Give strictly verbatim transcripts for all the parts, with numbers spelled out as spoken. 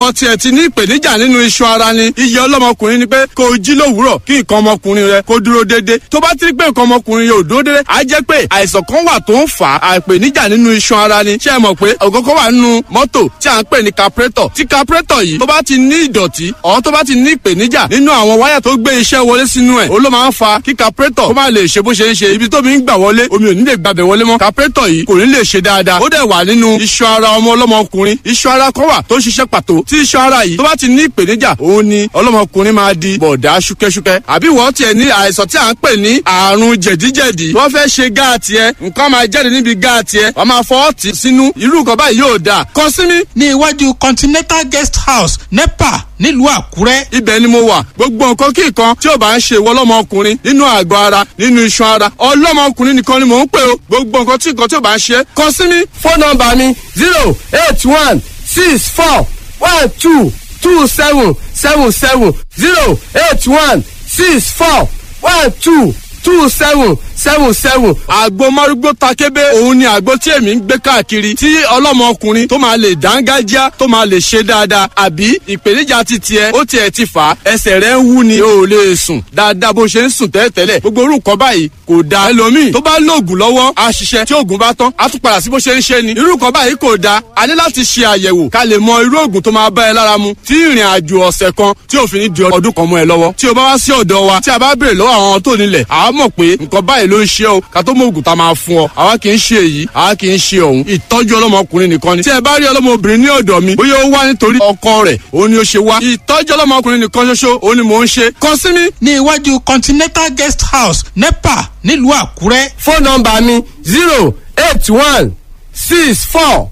Wọ́n tiẹ̀ ti ní ìpèníjà nínú iṣan ara ni. Iye ọlọ́mọkùnrin ni pé kó o jí lówùúrọ̀, kí nǹkan ọmọkùnrin rẹ kó dúró déédé. Tó bá ti rí pé nǹkan ọmọkùnrin yóò dúró déédé, á jẹ́ pé àìsàn kan wà tó ń fà á, ìpèníjà nínú iṣan ara ni. Ṣé ẹ mọ̀ pé ògógó wà nínú mọ́tò tí à ń pè ní carburetor? Tí carburetor yìí tó bá ti ní ìdọ̀tí ọ̀, tó bá ti ní ìpèníjà nínú àwọn wáyà tó gbé iṣẹ́ wọlé sínú ẹ̀, ó ló máa ń fa kí carburetor kó má lè ṣe bó ṣe ń ṣe. Ibi tómi ń gbà wọlé, omi ò ní lè gbàbẹ̀ wọlé mọ́, carburetor yìí kò ní lè ṣe dáadáa. Ó dẹ̀ wà nínú iṣan ara ọmọ ọlọ́mọkùnrin. Iṣan ara kan wà tó ń ṣiṣẹ́ pàtó. Tí iṣan ara yìí tó bá ti ní ìpèníjà, òun ni ọlọ́mọkùnrin máa di bọ̀dá ṣúkẹ́ṣúkẹ́. Àbí wọ́n tiẹ̀ ní àìsàn tí à ń pè ní àrùn jẹ̀díjẹ̀dí, wọ́n fẹ́ ṣe gáàtì ẹ, nǹkan máa jáde níbi gáàtì ẹ, wọ́n máa fọwọ́ tì sínú. Irú nǹkan báyìí yóò dáa. Kàn sí mi. Ní iwájú Continental Guest House, NEPA, nílùú Àkúrẹ́. Ibẹ̀ ni mo wà. Gbogbo nǹkan kí nǹkan tí ò bá ń ṣe ìwọ ọlọ́mọkùnrin nínú àgọ́ ara, nínú iṣan ara, ọlọ́mọkùnrin nìkan ni mò ń pè o. Gbogbo nǹkan tí nǹkan tí ò bá ń ṣe, kàn sí mi. Fóònù nọ́mbà mi zero eight one six four one two two seven seven seven, zero eight one six four one two two seven seven seven. Àgbo márúgbó takébé, òun ni àgbo tí èmi ń gbé káàkiri, tí ọlọ́mọkùnrin tó máa lè dángájá, tó máa lè ṣe dáadáa. Àbí ìpèníjà ti tiẹ̀, ó tiẹ̀ ti fà á, ẹsẹ̀ rẹ̀ ń wú ni, o ò lè sùn dáadáa bó ṣe ń sùn tẹ́lẹ̀tẹ́lẹ̀. Gbogbo orú nǹkan báyìí kò dáa. Ẹlòmíì tó bá lóògùn lọ́wọ́ á ṣiṣẹ́, tí oògùn bá tán, á tún padà sí bó ṣe ń ṣe ni. Irú nǹkan báyìí kò dáa. A ní láti ṣe àyẹ̀wò ká lè mọ irú oògùn tó máa bá ẹ lára mu, tí ìrìn àjò ọ̀sẹ̀ kan tí òfin ní di ọdún kan mọ́ ẹ lọ́wọ́. Tí o bá wá sí ọ̀dọ̀ wa, tí a bá béèrè lọ́wọ́ àwọn tó nílẹ̀, àá mọ̀ pé nǹkan báyìí ló ń ṣe o, ká tó mọ ògùn tá a máa fún ọ. Àwa kì í ṣe èyí, àwa kì í ṣe òun. Ìtọ́jú ọlọ́mọkùnrin nìkan ni. Tí ẹ bá rí ọlọ́mọbìnrin ní ọ̀dọ̀ mi, bóyá ó wá nítorí ọkọ rẹ̀ òun ni ó ṣe wá, ìtọ́jú ọlọ́mọkùnrin nìkan ṣoṣo òun ni mò ń ṣe. Kàn sí mi. Ní iwájú Continental Guest House, NEPA, nílùú Àkúrẹ́. Fóònù nọ́mbà mi zero eight one six four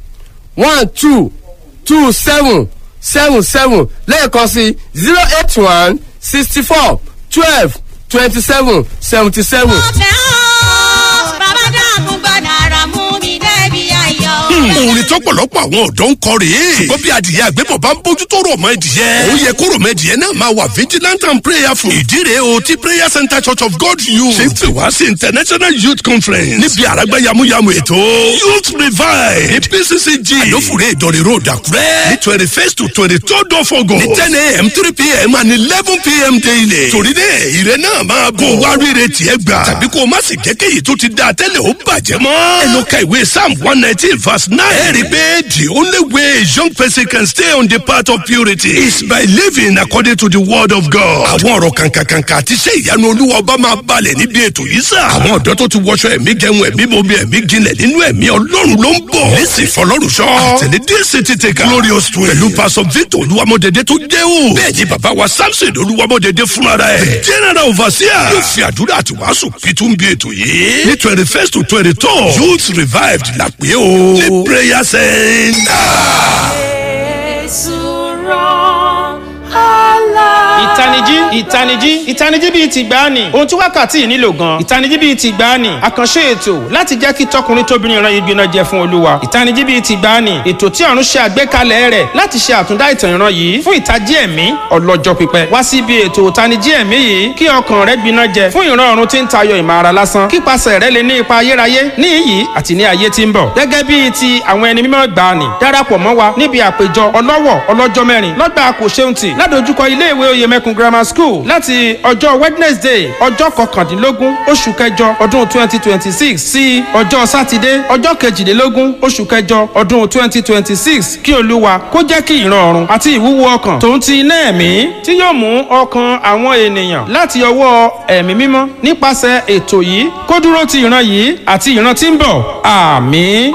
one two two seven seven seven, lẹ́ẹ̀kan sí zero eight one sixty four twelve twenty seven seventy seven. Orin tọ́pọ̀lọpọ̀ àwọn ọ̀dọ́ ń kọ rèé. Ṣùgbọ́n bí adìyẹ àgbébọ̀ bá ń bójú tó rọ̀ mọ́ ẹdìyẹ, ó yẹ kó rò mọ́ ẹdìyẹ náà máa wà vigilant and prayerful. Ìdí rèé o tí Prayer Center Church of God Youth ṣe ń pè wá sí International Youth Conference níbi àràgbá yamuyamu ètò Youth Revive ní P C C G, Àlófùrẹ́, Ìdọ̀rẹ̀ Road, Àkúrẹ́, ní twenty first to twenty third of August, ní ten a m, three p m and eleven p m daily. Torí náà, ìrẹ́ náà máa bọ̀ wá ríre tiẹ̀ gbà, tàbí kó o má sì jẹ́ kéyìí tó ti dáa tẹ́lẹ̀ ó bàjẹ́ mọ́. Ẹ lọ ka ìwé Psalm one nineteen verse nine. Ẹ rí pé the only way a young person can stay on the path of purity is by living according to the word of God. Àwọn ọ̀rọ̀ kànkànkànkà àti iṣẹ́ ìyanu Olúwa Ọba máa balẹ̀ níbi ètò yìí sà. Àwọn ọ̀dọ́ tó ti wọṣọ ẹ̀mí, gẹ̀hún ẹ̀mí, bomi ẹ̀mí, jinlẹ̀ nínú ẹ̀mí Ọlọ́run ló ń bọ̀. Nísì fọlọ́runṣọ́. Àtẹ̀lé D C T Taker Glorious Twin pẹ̀lú Pastor Victor Olúwamọ̀dédé tó jẹ́ o. Bẹ́ẹ̀ ni bàbá wa Samson Olúwamọ̀dédé fúnra rẹ̀, General Overseer, yóò fi àdúrà àti wàásù pitú bí ètò yìí. Ní twenty first to twenty two, Youth Revived la pé o. Ní Prayer Center. Ìtanijí, ìtanijí, ìtanijí bíi ti gbáàní, ohun tí wákàtí yìí nílò gan. Ìtanijí bíi ti gbáàní, àkànṣe ètò láti jẹ́ kí tọkùnrin tóbìnrin ran ìgbìnà jẹ fún Olúwa. Ìtanijí bíi ti gbáàní, ètò tí ọ̀run ṣe àgbékalẹ̀ rẹ̀ láti ṣe àtúndá ìtàn ìran yìí fún ìtají ẹ̀mí ọlọ́jọ́ pípẹ́. Wá sí ibi ètò ìtanijí ẹ̀mí yìí, kí ọkàn rẹ gbiná jẹ fún ìran ọ̀run tí ń tayọ ìmọ̀ ara lásán, kípasẹ̀ rẹ lè ní ipa ayérayé ní iyì àti ní ayé tí ń bọ̀, gẹ́gẹ́ bíi ti àwọn ẹni mímọ́ gbàánì. Darapọ̀ mọ́ wa níbi àpèjọ ọlọ́wọ̀ ọlọ́jọ́ mẹ́rin lọ́gbà kò ṣeun tì ládojúkọ iléèwé Oyemekun Grammar School, láti ọjọ́ Wednesday, ọjọ́ kọkàndínlógún oṣù kẹjọ ọdún twenty twenty six sí ọjọ́ Sátidé, ọjọ́ kejìlélógún oṣù kẹjọ ọdún twenty twenty six. Kí Olúwa kó jẹ́ kí ìran ọ̀run àti ìwúwo ọkàn tòun ti iná ẹ̀mí tí yóò mú ọkàn àwọn ènìyàn láti ọwọ́ Ẹ̀mí Mímọ́ nípasẹ̀ ètò yìí kó dúró ti ìran yìí àti ìran tí ń bọ̀. Àmín.